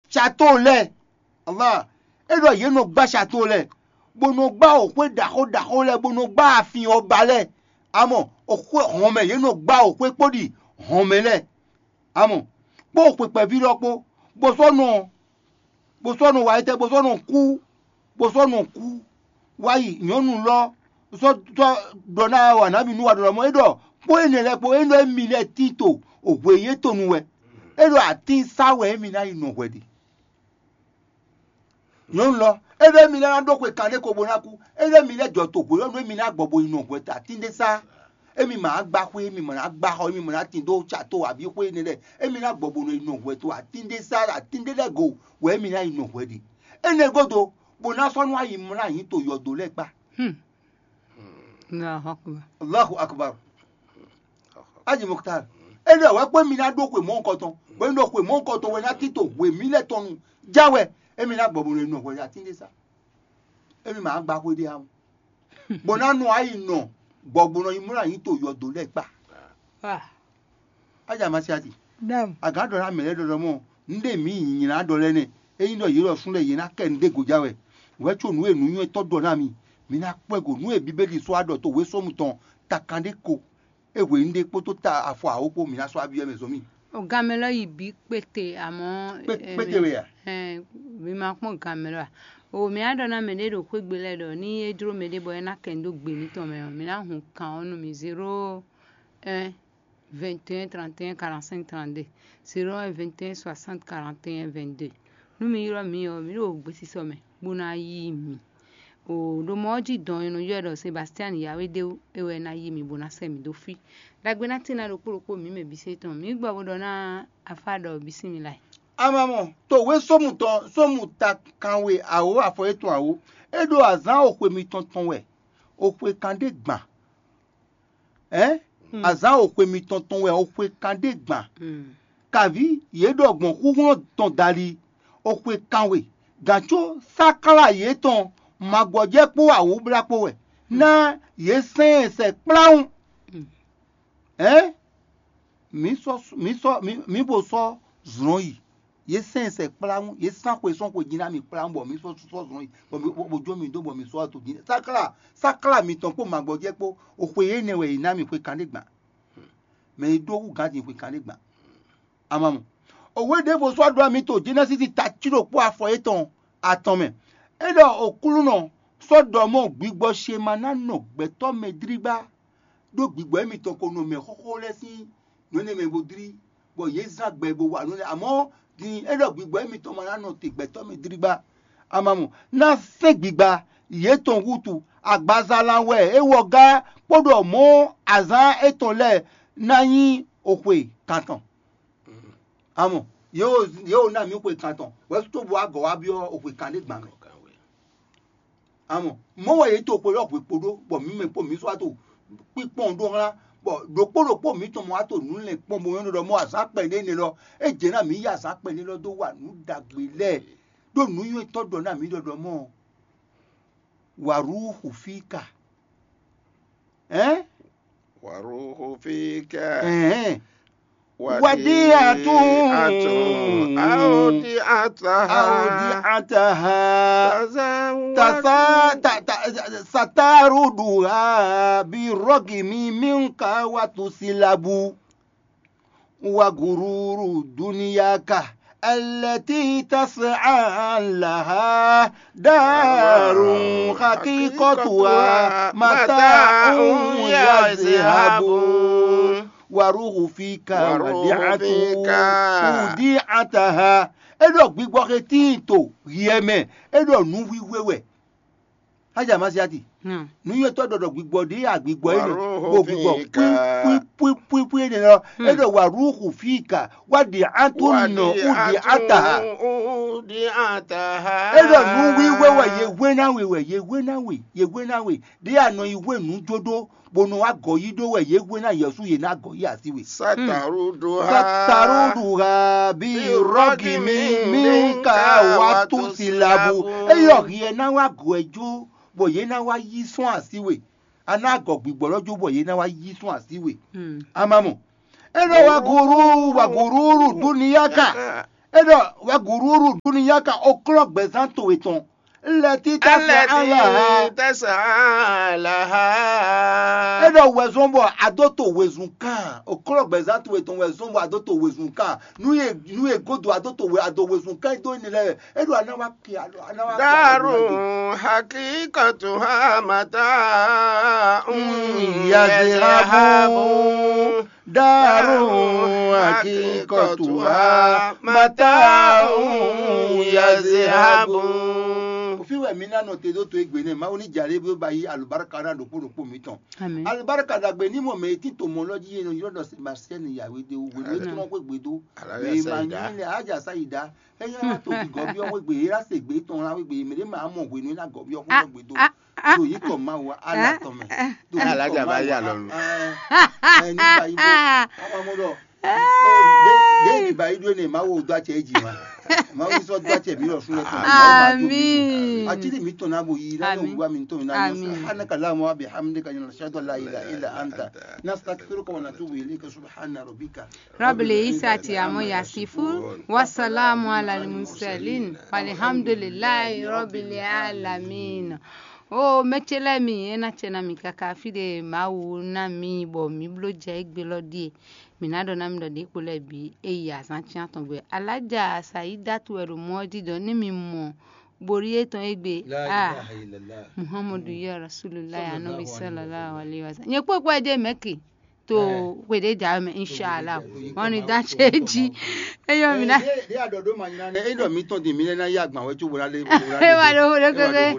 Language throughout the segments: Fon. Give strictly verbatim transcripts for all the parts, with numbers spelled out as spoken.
Sato lɛ́ɛ, Allah, é ɖɔ yě nɔ gbá sato lɛ́ɛ, bó nɔ gbá òxwé ɖaxó ɖaxó lɛ́ɛ, bó nɔ gbá afin ɔ́ ba lɛ́ɛ. Amɔ òxwé hɔnmɛ, yě nɔ gbá òxwé kpó ɖi hɔnmɛ lɛ́ɛ. Amɔ kpó xwe kpɛví lɔ kpó, bó sɔ́ nɔ bó sɔ́ nɔ wa étɛ́, bó sɔ́ nɔ kú, bó sɔ́ nɔ kú wá yi. Nyɔ̌nu lɔ sɔ́ sɔ́ ɖɔ ná wa nǎ mi nú wa ɖɔ mɔ é ɖɔ kpó énɛ́ lɛ́ɛ kpó é ɖɔ émi lɛ́ɛ tín to hwě yětɔn nu wɛ. É ɖɔ atín sá wɛ émi ná yi nɔ hwɛ ɖe. Nyɔ̌nu lɔ é ɖɔ émi lɛ́ɛ ná ɖó xwe kanɖé ko bó ná kú. É ɖɔ émi lɛ́ɛ jɔ to hwě ɔ́ nú émi ná gbɔ bo yi nɔ hwɛ atín ɖé sá. Émi ma wá gbá xwé, émi ma ná gbá xɔ, émi ma ná tin dó tsa tó abǐ xwé énɛ́ lɛ́ɛ. Émi ná gbɔ bó nɔ yi nɔ hwɛ to atín ɖé sá atín ɖé lɛ́ɛ go wɛ émi ná yi nɔ hwɛ ɖe. Énɛ́ gúdo, bó ná sɔ́ nú ayi mlá nyi to yɔdo lɛ́ɛ kpá. Hmm. Allahu Akbar. Allahu Akbar. Aji Mokhtar, énɛ́ wɛ kpé mi ná ɖó xwe mɔ̌hunkɔtɔn, bó ní ɖo xwe mɔ̌hunkɔtɔn wɛ ná tín to hwe mǐ lɛ́ɛ tɔn nu. Já wɛ, émi ná gbɔ bó nɔ yi nɔ hwɛ atín ɖé sá. Émi ma gbá xwé ɖé ǎ. Bó ná nɔ ayi nɔ gbɔgbɔnɔ yi mlá nyi to yɔdo lɛ́ɛ kpá. Ah. Aja ma si ati. Dam. Agán ɖɔ ná mɛ lɛ́ɛ ɖɔɖɔ mɔ, nɖé mǐ nyi nylá ɖɔ lɛ́ɛ nɛ. Ényí ɖɔ yě ɖɔ sún lɛ́ɛ yě ná kɛ nɖé gojá wɛ. Wɛ có nǔ e nǔnywɛ́tɔ́ ɖɔ ná mi, mi ná kpɔ́ ɛ go. Nǔ e Bíbélì sɔ́ wá ɖɔ to wěsɔ́mu tɔn takan ɖé ko. É hwe nɖé kpódó ta afɔ awo kpó mǐ ná sɔ́ abyɔ́ mɛ zɔn mì. O gan mɛ lɔ yi bǐ kpete amɔ̌. Kpé- eh, kpéte we a? Ɛn, mi ma kpɔ́n gan mɛ lɔ a? O mǐ á ɖɔ ná mɛ ɖé ɖo xwé gbe lɛ́ɛ ɖɔ ní é jló mɛ ɖé bɔ é ná kɛ nǔ dó gbe mǐtɔn mɛ ɔ́, mǐ ná hun kan ɔ́ nú mi zéro un vingt et un trente et un quarante-cinq trente-deux, zéro un vingt et un soixante quarante et un vingt-deux. Nú mi ylɔ́ mǐ ɔ́, mǐ ɖo gbesisɔ mɛ bó ná yí mi. O ɖo mɔ ɔ́ jí dɔn e nɔ ylɔ́ ɛ ɖɔ Sebastian Yawédéwu é wɛ ná yí mi bó ná sɛ́ mǐ dó fí. Ɖagbe ná tín ná ɖokpó ɖokpó mǐ mɛ bǐ se tɔn. Mǐ gbɔ bó ɖɔ ná afá ɖɔ bǐ sín mi lay. Amamɔ, to wěsɔ́mu tɔn sɔ́mu ta kanwe awo afɔ yětɔn awo, é ɖo azǎn oxwe mitɔn tɔn wɛ, oxwe kan ɖé gban. Ɛ̌? Azǎn oxwe mitɔn tɔn wɛ oxwe kan ɖé gban. Kaví yě ɖɔ gbɔn xúxlɔ́ tɔn dali, oxwe kanwe, gǎn có sáklá yětɔn magbɔjɛ́ kpó awǔblá kpó wɛ, ná yě sɛn ɛ sɛ kplawún. Ɛ̌? Mǐ sɔ́ mǐ sɔ́ mǐ mǐ bo sɔ́ zlɔ̌n yi. Yě sɛn ɛ sɛ kplawún, yě sán xwe sɔ́n xwe jí ná mì kplawún bɔ mǐ sɔ́ sɔ́ zlɔ̌n yi, bɔ mǐ bó jó mì dó bɔ mǐ sɔ́ to jí. Sáklá sáklá mǐtɔn kpó magbɔjɛ́ kpó, oxwe énɛ́ wɛ yě ná mì xwe kanɖé gban. Mɛ e ɖó hú gǎn din xwe kanɖé gban. Amamɔ. Òwe ɖěvo sɔ́ ɖɔ mì to Jenɛsísi ta cí ɖokpó afɔ yětɔn atɔn mɛ. É ɖɔ Oklúnɔ sɔ́ ɖɔ mɔ gbigbɔ ce ma ná nɔ gbɛtɔ́ mɛ dlígbá, ɖó gbigbɔ émitɔn ko nɔ mɛ xóxó lɛ́ɛ sín nǔ énɛ́ mɛ bó dlí, bɔ yě zán gbɛ bó wa nǔ énɛ́. Amɔ̌ din é ɖɔ gbigbɔ émitɔn ma ná nɔ te gbɛtɔ́ mɛ dlígbá. Amamɔ ná sɛ́n gbigba yětɔn wútu, agbaza lan wɛ é wɔ gá kpó ɖɔ mɔ̌ azǎn étɔn lɛ́ɛ ná nyí oxwe kantɔn. Amɔ yě wo yě wo ná mǐ xwe kantɔn, hwɛ̌ cóbɔ agɔ̌ wá byɔ́ oxwe kan ɖé gban mɛ. Amɔ mɔ̌ wɛ yě to xwe lɔ hwe kpo ɖó, bɔ mǐ mɛ kpó mǐ sɔ́ wá to kpíkpɔ́n ɖó xlán, bɔ ɖokpó ɖokpó mǐtɔn mɔ wá to nǔ lɛn kpɔ́n bó nyɔ́ ɖɔ mɔ azǎn kpɛɖé nɛ lɔ, é jɛ ná mǐ yi azǎn kpɛɖé lɔ dó wa nǔ ɖagbe lɛ́ɛ, ɖó nǔnywɛ́tɔ́ ɖɔ ná mǐ ɖɔ ɖɔ mɔ wǎrúxu fí ka. Ɛ̌n? Waruhu fika. Ɛhɛn. Wadi'atun. Wadi'atun. Awdi'ataha. Awdi'ataha. Tasa ta ta sataruduha bi rogimi minka watusilabu. Wa gururu duniyaka التي تسعى لها دار حقيقتها متاع يذهب. وروح فيك وديعة أودعتها. É ɖɔ gbigbɔ xe tíin to hiɛ mɛ, é ɖɔ nǔwiwe wɛ. Aja Masiati. Nǔnywɛ́tɔ́ ɖɔɖɔ gbigbɔ ɖě ya gbigbɔ énɛ́, bo gbigbɔ pwípwípwípwí énɛ́ lɔ, é ɖɔ wa rúxu fíka, wá ɖi atún nɔ wú ɖi ataha. É ɖɔ nǔ wíwé wɛ yě hwé ná we wɛ yě hwé ná we yě hwé ná we ɖě ya nɔ yi hwé nǔ jó ɖó, bó nɔ wá gɔ̌ yí ɖó wɛ yě hwé ná Yɛsu yě ná gɔ̌ yí así we. Sataruduha. Sataruduha bí rɔgimi minka wá tún si labu. Eyɔ hiɛ ná wá gɔ̌ ɛ jó, bɔ yě ná wá yí sɔ́n así we. A ná gɔ̌ gbigbɔ lɔ jó bɔ yě ná wá yí sɔ́n así we. A ma mɔ. É ɖɔ wá gúrú wá gúrúrú dúniyá ka. É ɖɔ: "Wɛ gǔrúurú dúnúyá ka oklɔ́ gbɛzán towe tɔn. Lɛtí tɛsán alaha." Tɛsán alaha. É ɖɔ: "Wɛzɔn bɔ a dó to wezun kan. Oklɔ́ gbɛzán towe tɔn wɛzɔn bɔ a dó to wezun kan. Nú ye nú ye godo a dó to we a dó wezun kan dó énɛ́ lɛ́ɛ. É ɖɔ a ná wá kí a ɖɔ a ná wá kí a ɖɔ Daru hakikatuha mata Mm, yazihabu. Daru hakikatuha mata yazihabu. Òfin wɛ mi ná nɔ te ɖó to egbe nɛ Mawu ní jalè bí ó ba yí alùbáríkà ná ɖokpó ɖokpó mi tɔn. Amen. Alùbáríkà dàgbé ní mɔ mɛ tí tòmɔ lɔ jí yẹn yɔ dɔ Sebastian Yahweh de wò wò ní tɔn kó gbé dó. Alájà Mɛ ma Sayida. ní lɛ ájà Sayida. Ẹyẹ wá tó fi gɔbí ọwọ́ gbé yé rá se gbé tɔn lá wé gbé yé mɛ ɖé máa mɔ hwenu ná gɔbí ọkọ gbé dó. Ah, ah. Do yí kɔ Mawu ala tɔn mɛ. Do yí kɔ Alájà bá Mawu yà ala- lọ́nu. Ẹ, ẹ, ní báyìí bó. Ọmọ mo dọ. Dé ìbá yìí dúró ní Mawu ò dó àtsẹ yìí jì wá. Mawu sọ dó àtsẹ mi lọ fún ẹ tán. Àmín. Àtìrí mi tàn náà bò yí náà Àmín. Wá mi tàn náà yọ Àmín. Anaka la mo abi hamdika yọ ṣáàdọ̀ la ilà ilà anta. Nastaghfiruka wa natubu ilayka subhana rabbika. Rabbil izzati amma yasifun, wa salamu ala al mursalin, walhamdulillahi rabbil alamin. O mɛtsɛ lɛ́ɛ mi, é ná tsɛ ná mi káká fí ɖé Mawu ná mi bɔ mǐ bló jɛ égbé lɔ ɖíe. Mǐ ná ɖɔ ná mi ɖɔ ɖě kpo lɛ́ɛ bǐ é yi azǎn cyán tɔn gbe. Alájà Sayidatu wɛ ɖo mɔ ɔ́ jí ɖɔ ní mi mɔ borí étɔn égbé. La Ah, ilaha illallah. Muhammadu ya Rasulullah Anabi sallallahu alaihi wasallam. Nyɛ kpɔkpɔ ɛ jɛ mɛki to kpeɖe ja mɛ inshallah. Wɔn ni da tse dzi. Eyɔ mi na. Ɖé aɖɔ ɖó ma nyina nɛ. Eɖɔ mi tɔn di mi lɛ na yí agban wɛ tso wòlá lé. Ewa ɖo wo ɖo keke.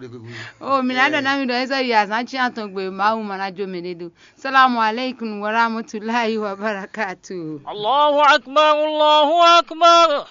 O mi na ɖɔ na mi ɖɔ ezɔ yi azan tsi atɔn gbe Mawu ma na jo mɛ ɖe do. Salamu alaikum wa rahmatulahi wa barakatuh. Allahu akbar, Allahu akbar.